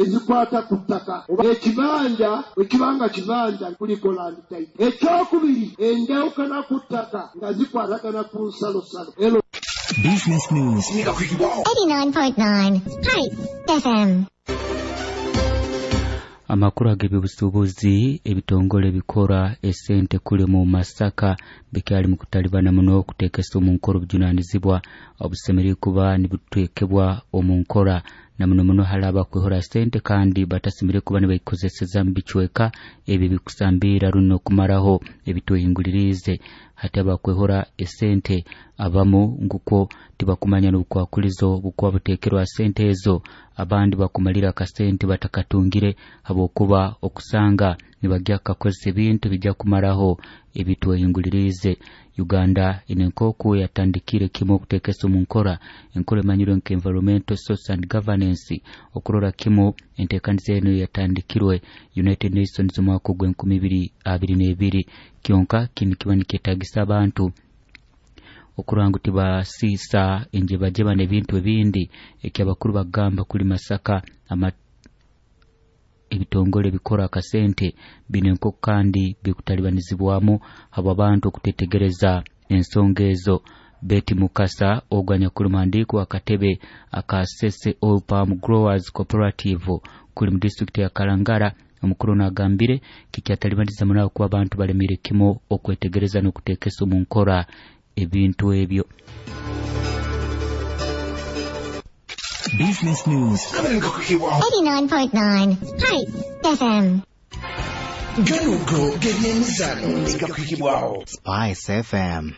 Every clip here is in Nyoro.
Ezikwata ku ttaka oba ekibanja bwe kibanga kibanja kuliko land title. Ekyokubiri, enjawukana ku ttaka nga zikwatagana ku nsalosalo. Business News. 89.9 Spice FM. Amakuru ag'ebyobusuubuzi, ebitongole bikora esente kuli mu Masaka bikyali mu kutalibana muno okuteekesa omu nkora obujunaanizibwa obusemereire kuba nibuteekebwa omu nkora, na muno muno hali abakwehora sente kandi batasemereire kuba nibayikozeseza mu bicweka ebi bikusambiira runo kumaraho ebitwehinguliriize. Hati abakwehora esente abamu nguko tibakumanya n'obukwakulizo bukuba buteekerwa sente ezo, abandi bakumalira akasente batakatungire habwokuba okusanga nibajya kukakozesa ebintu bijja kumaraho ebitwehinguliriize. Uganda ine nk'oku yatandikire kimu okuteekesa omu nkora enkora emanyirwe nka environmental social and governance, okurora kimu enteekaniza eno yatandikirwe United Nations omwaka ogw'e 2022. Kyonka kinu kiba nikyetagisa abantu okurora ngu tibasiisa enjebajeba n'ebintu ebindi. Ekyabakuru bagamba kuli Masaka ama ebitongole bikora akasente bine nk'oku kandi bikutalibanizibwamu habw'abantu okutetegereza ensonga ezo. Betty Mukasa ogwo anyakuli muhandiiki w'akatebe aka Sese Oil Palm Growers Cooperative kuli mu disitulikiti ya Kalangala, omukuru ono agambire kikyatalibaniza muno kuba abantu balemire kimu okwetegereza n'okuteekesa omu nkora ebintu ebyo. Business News. 89.9 Spice FM. Ganugo g'ebyemizano negakwikibwaho Spice FM.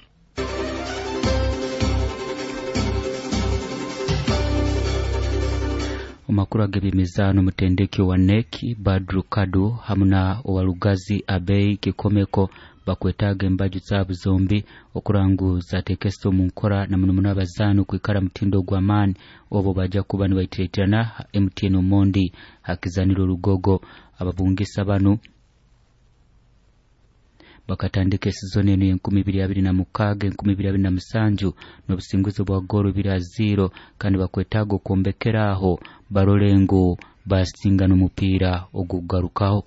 Omakuru ag'ebyemizaano, omutendeki wa NEC Badru Kadu hamu na owalugazi Abei Kikomeko bakwetaaga embaju zaabo zombi okurora ngu zateekesa omu nkora, na muno muno abazaani okwikara mutindo gw'amaani obo bajja kuba nibaitiretirana MTN Omondi hakizaniro Lugogo. Ababungisa banu bakatandika esizoni eno y'e 2026 2027 n'obusinguzi bwa goolo 2-0, kandi bakwetaaga okwombekera aho barole ngu basinga n'omupiira ogugarukaho.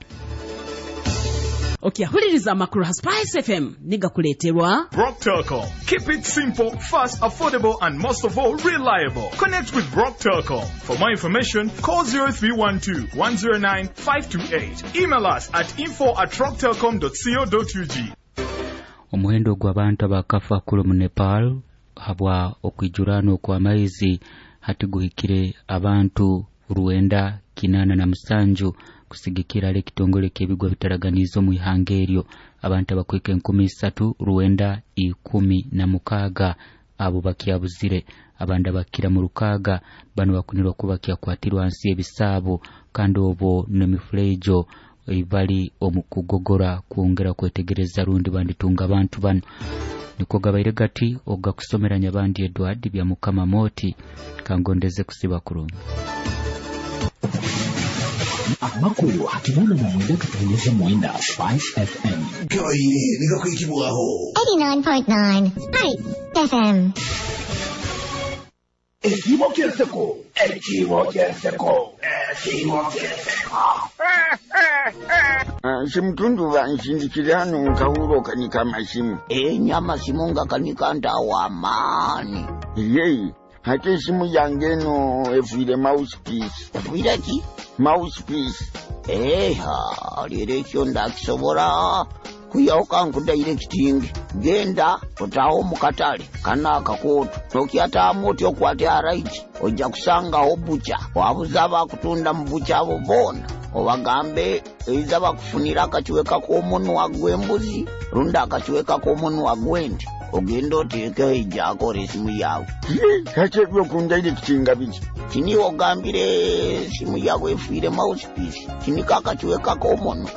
Okyahuliriza amakuru ha Spice FM nigakuleeterwa Rock Telcom. Keep it simple, fast, affordable, and most of all, reliable. Connect with Rock Telcom. For more information, call 0312 109 528. Email us at info@rocktelcom.co.ug. Omuhendo gw'abantu abakafa kuli mu Nepal habwa okwijurano okw'amaizi hati guhikire abantu 987, kusigikira ali ekitongole ky'ebigwa bitaraganiize omu ihanga eryo. Abantu abakwika 3916 abo bakyabuzire, abandi abakira mu 600 bano bakunirwa kuba kyakwatirwa hansi y'ebisaabo, kandi obwo n'emifuleejo bali omu kugogora kwongera kwetegereza rundi banditunga abantu bano. Niko gabaire gati ogakusomera Nyabandi Edward bya Mukama Moti, kangondeze kusiba kurungi. Amakuru 89.9 Spice FM. Gabaire negakwikibwaho 89.9 Spice FM. Ekibo kyenseko, ekibo kyenseko, ekibo kyenseko. Simutundu banshindikire hano nkawulo kanika amasimu. Enya amasimu nga kanika ntawo amaani. Yeyi, hati esimu yange eno efiire mouthpiece. Efiire ki? Mouthpiece. Eha, leero ekyo ndakisobola kuyawo kankudirecting. Genda otaawo mu katale kana akakooto nokyataamu otya, okwate alright, ojja kusangawo butcher, wabuza abakutunda mu butcher abo boona, obagambe eiza bakufunira akakiweka k'omunwa gw'embuzi rundi akakiweka k'omunwa gw'ente, ogenda oteekeho ejjakora esimu yawe. Kati ebyokundirectinga biki? Kiniwe ogambire esimu yawe efiire mouthpiece, kinika akakiweka k'omunwa.